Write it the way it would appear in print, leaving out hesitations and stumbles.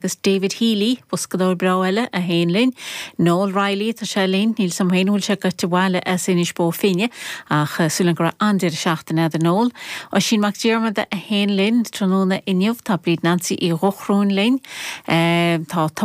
Agus David Healy, boscadóir breá eile, a sheinn linn. Noel Reilly, tá sé linn, níl 's a'm féin an bhfuil sé gaibhte abhaile as Inis Bó Finne, ach súil agam go raibh an-deireadh seachtaine agat a Noel. Oisín Mac Diarmada a sheinn linn tráthnóna inniu, tá Bríd Nancy Uí Dhochrúin linn, tá.